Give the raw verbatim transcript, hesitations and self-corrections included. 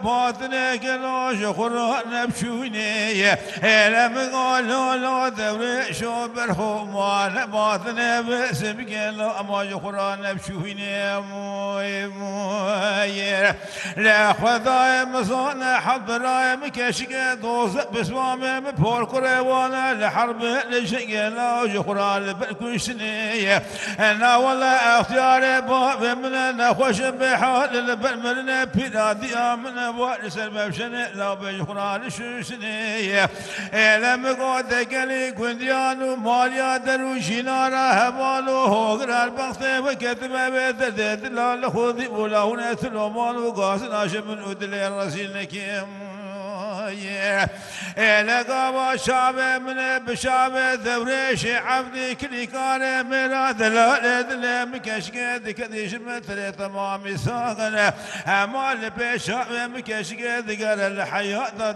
Batine gelo ji xwe re nebiçûnê ye. Êle min galo lo dewrê şo berxo mane. Batine bisim gelo ama ji xwe re nebiçûnê. Moy, moy. Le Xwedayê min zane, hebirayê min keşike doze, pismamê min porkurê wane, li herbê li jingê la ji xwe re li ber kuştinê ye. Na wele extiyarê bavê min e, nexweşim bê hal li ber mirinê, pîra diya min e, wa li ser mevşenê, la bê ji xwe re li şuştinê ye. Êle min gote gelî gundiyan û maliya der û jînara heval û hogir her bextê we ketime vê derdê dila li xwe dî û la hûn e tiloman û gazin aşe min û dilê rezîl nekim. Êle gava şavê min e bi şavê dewrêşê evdî kilîkarê mêra delalê dilê min keşke dike dîşime tirê temamî saxine. Hema li pêşa wê min keşke digere li heyata